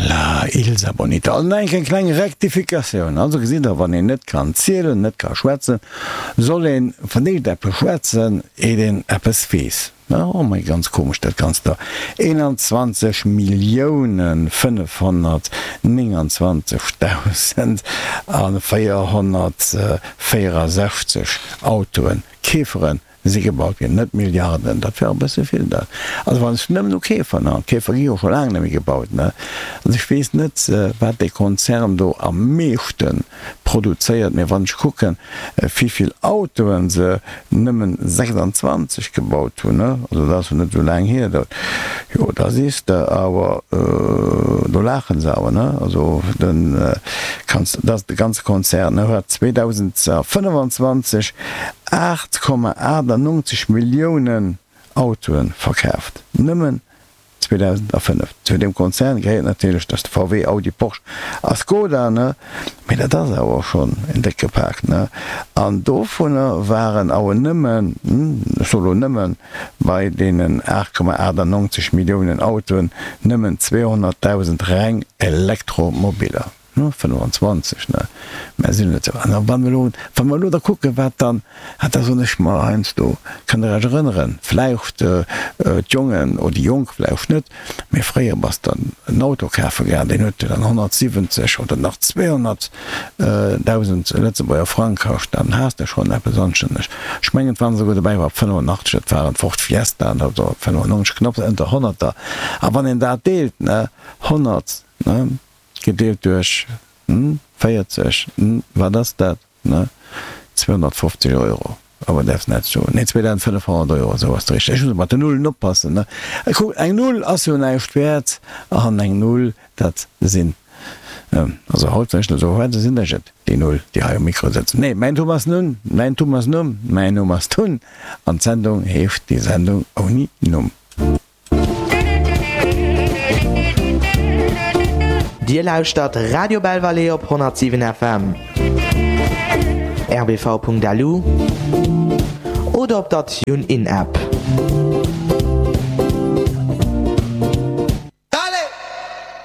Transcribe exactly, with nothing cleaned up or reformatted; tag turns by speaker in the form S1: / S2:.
S1: La Ilsa Bonita. An eng eng kleng Rektifikatioun. Also gesitt Der, wann een net kann zielen, net ka schwätzen, soll een vun deem eppes schwätzen, eet een eppes weess. Oh mei, ganz komesch dat Ganzt do. eenanzwanzeg Milliounen fënnefhonnertnénganzwanzegdausend a véierhonnertvéierasechzeg Autoen, Keeferen, si gebaut ginn, net Milliarden, dat wär e bësse vill dat. Also wann ech nëmmen u Käfer, ne, Käfer gi jo scho laang net méi gebaut, ne, also ech weess net, wat dee Konzern do am meeschte produzéiert, mee wann ech kucken, wéivill Autoen se nëmmen sechsandzwanzeg gebaut hunn, ne, also dat ass jo net esou laang hier, dat, jo, da sees de awer, do laachen se awer, ne, also den kanns, dat ass de ganze Konzern, ne, huet zweedausendfënnefanzwanzeg aacht Komma achtannongzeg Milliounen Autoe verkaaft, nëmmen zweedausendafënnef. Zu deem Konzern gehéiert natierlech dass de V W, Audi, Porsche a Skoda, ne, mee dat ass awer schonn en décke Pak, ne. An dovunner waren awer nëmmen, ech soe lo nëmmen, bei deenen aacht Komma achtannongzeg Milliounen Autoen nëmmen zweehonnertdausend reng Elektromobiller. fënnefanzwanzeg, ne, mä sinn net esou. An da wa mer elo, wa mer elo da kucken, wat dann, ah, da soen ech mer heiansdo, kënnt Der Iech erënneren, vläicht d'Jongen oder déi Jonk vläicht net, mä fréier bass de en Auto kafe gaang, deen huet dann honnertsiwwenzeg oder nach zweehonnertdausend Lëtzebuerger Frang kascht, dann has de schonn eppes anstänneg. Ech mengen, et waren esouguer dobäi war fënnefenachtzeg, dat waren Ford Fiestaen oder fënnefennonzeg, knapp ënter honnerter. A wann een dat deelt, ne, honnert, ne, gedeelt duerch véierzeg, wat ass dat? zweehonnertfofzeg Euro, awer däerfs net soen, nee, zweedausendfënnefhonnert Euro, esou ass et richteg. Ech muss mat den Nullen oppassen, ne? Kuck, eng Null ass jo näischt wäert, an eng Null, dat sinn, also haut, wann ech dat esou schwätzen, sinn ech et, déi Null, déi hei um Mikro sëtzen. Nee, mäin Thomas Nun, mäin Thomas Numm, mäin Numm ass Tun, an d'Sendung heescht Die Sendung ohne Numm.
S2: Dir lauschtert Radio Belval op honnertsiwen F M, R B V Punkt L U oder op der TuneIn App.